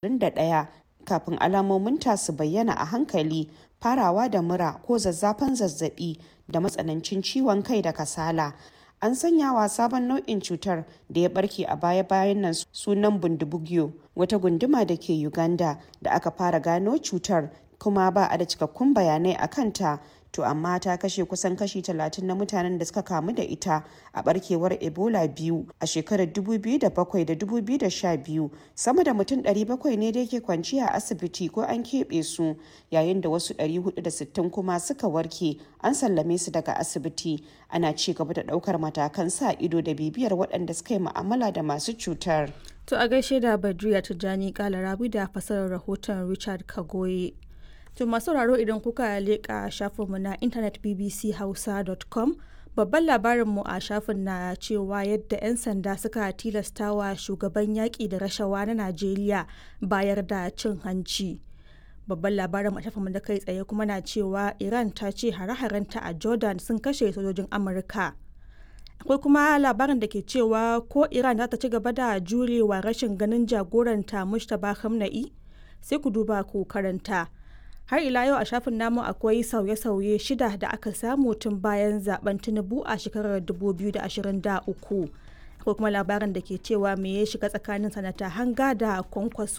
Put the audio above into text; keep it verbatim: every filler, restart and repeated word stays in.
ashirin da ɗaya kafin alamominta su bayyana a hankali, farawa da mura ko zazzafan zazzabi da matsanancin ciwon kai da kasala. An sanyawa sabon nau'in cutar da ya barke a baya-bayan nan sunan Bundibugyo, wata gunduma da ke Uganda da aka fara gano cutar kuma ba a da cikakkun bayanai a kanta, to amma ta kashe kusan kashi talatin na mutanen da suka kamu da ita a barkewar Ebola biyu a shekarar dubu biyu da bakwai da dubu biyu da sha biyu. Sama da mutum ɗari bakwai ne da ke kwanciya a asibiti ko an keɓe su, yayin da wasu ɗari huɗu da sittin kuma suka warke an sallame su daga asibiti. Ana ci gaba da ɗaukar matakan sa ido da bibiyar waɗanda suka yi mu'amala da masu cutar. To a gaishe da Badriya Tijjani Kalarabi da fasarar rahoton Richard Kagoye. To masu sauraro, idan kuka leƙa shafinmu na intanet B B C Hausa dot com, babban labarinmu a shafin na cewa yadda 'yan sanda suka tilastawa shugaban yaƙi da rashawa na Najeriya bayar da cin hanci. Babban labarin a shafinmu da kai tsaye kuma na cewa Iran ta ce hare-harenta a Jordan sun kashe sojojin Amurka. Akwai kuma labarin da ke cewa ko Iran za ta ci gaba da jurewa rashin ganin jagoranta Mujtaba Khamenei? Sai ku duba ku karanta. Har ila yau a shafin namu akwai sauye-sauye shida da aka samu tun bayan zaben Tinubu a shekarar dubu biyu da ashirin da uku. Akwai kuma labarin da ke cewa me ya shiga tsakanin Sanata Hanga da Kwankwaso.